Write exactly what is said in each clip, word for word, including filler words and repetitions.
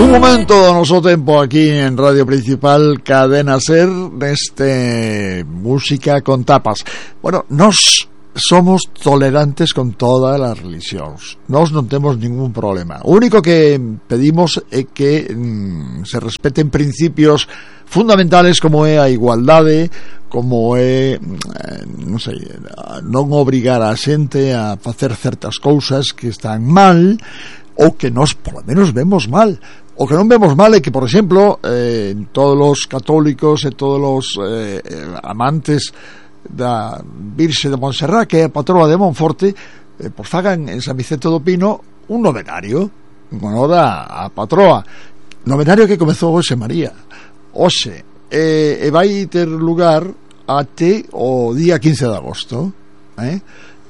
Un momento do noso tempo aquí en Radio Principal Cadena Ser neste Música con Tapas. Bueno, nos somos tolerantes con todas as religións. Nós non temos ningún problema. O único que pedimos é que mm, se respeten principios fundamentales como é a igualdade, como é, non sei, non obrigar a xente a facer certas cousas que están mal ou que nós polo menos vemos mal. O que non vemos mal é que, por exemplo, eh, todos os católicos e todos os eh, amantes da Virxe de Montserrat, que é a patroa de Monforte, eh, pois fagan en San Vicente do Pino un novenario en honor a, a patroa, novenario que comezou hoxe María hoxe, e, e vai ter lugar até o día quince de agosto, eh?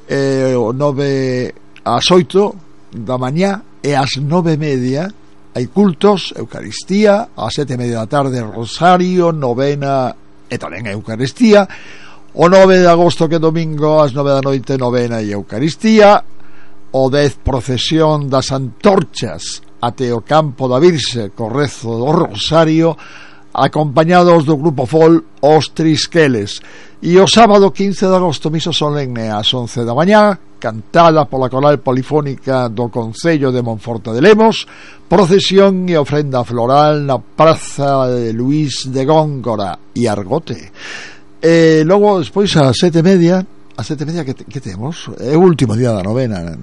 E, o nove ás oito da mañá e ás nove e media hai cultos, Eucaristía, ás sete e media da tarde rosario, novena e tamén a Eucaristía. O nove de agosto, que é domingo, ás nove da noite, novena e Eucaristía. O dez, procesión das antorchas até o campo da Virxe co rezo do rosario, acompañados do grupo Fol Os Trisqueles. E o sábado quince de agosto, misa solemne ás once da mañá, cantada pola coral polifónica do Concello de Monforte de Lemos, procesión e ofrenda floral na praza de Luís de Góngora e Argote. E logo, despois, a sete e media, a sete e media que, que temos? É o último día da novena.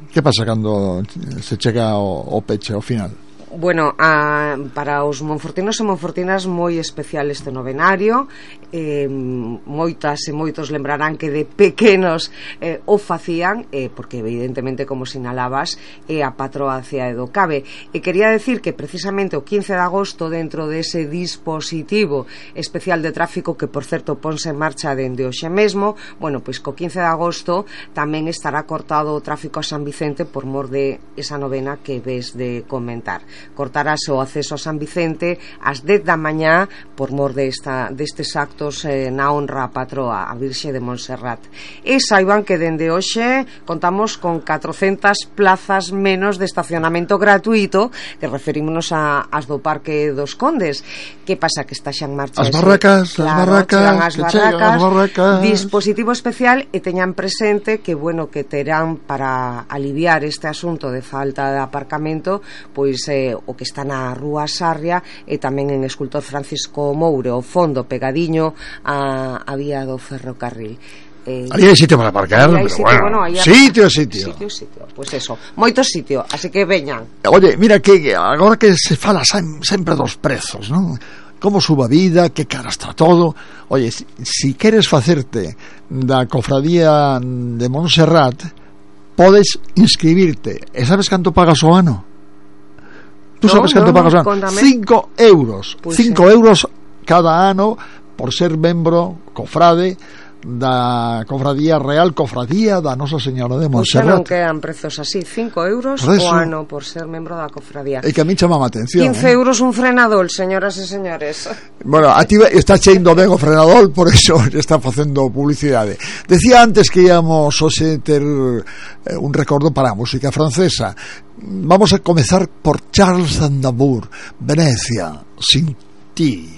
Que pasa cando se chega o, o peche ao final? Bueno, a, para os monfortinos e monfortinas moi especial este novenario. eh, moitas e moitos lembrarán que de pequenos eh, o facían, eh, porque evidentemente, como sinalabas, é a patroa Cea do Cabe. E quería decir que precisamente o quince de agosto, dentro dese dispositivo especial de tráfico que, por certo, ponse en marcha dende hoxe mesmo, bueno, pois co quince de agosto tamén estará cortado o tráfico a San Vicente por mor de esa novena que ves de comentar. Cortarase o acceso a San Vicente ás dez da mañá por mor de esta, destes actos eh, na honra a patroa, a Virxe de Montserrat. E saiban que dende hoxe contamos con catrocentas plazas menos de estacionamento gratuito, que referímonos a, as do Parque dos Condes. Que pasa? Que está xa en marcha as barracas, claro, as barracas, as barracas, as barracas, dispositivo especial, e teñan presente que, bueno, que terán para aliviar este asunto de falta de aparcamento, pois eh, o que está na Rúa Sarria e tamén en Escultor Francisco Moure, o fondo pegadiño a, a vía do ferrocarril. Eh, aí hai sitio para aparcar, pero sitio, bueno, bueno sitio, sitio. Sitio, sitio, pois pues eso, moito sitio, así que veñan. Oye, mira que agora que se fala sempre dos prezos, non? Como suba a vida, que cara está todo. Oye, si, si queres facerte da cofradía de Montserrat, podes inscribirte. E sabes canto pagas o ano? Tú no, sabes canto no, pagas o ano? cinco euros. Pues cinco sí. euros cada ano por ser membro, cofrade da Cofradía Real, Cofradía da Nosa Señora de Montserrat. Pois non quedan prezos así, cinco euros o ano por ser membro da cofradía. E que a mí chamaba a atención. quince eh? euros un frenador, señoras e señores. Bueno, a ti está cheindo ben o frenador, por eso está facendo publicidade. Decía antes que íamos hoxe ter eh, un recordo para a música francesa. Vamos a comezar por Charles Aznavour, Venecia, sin ti.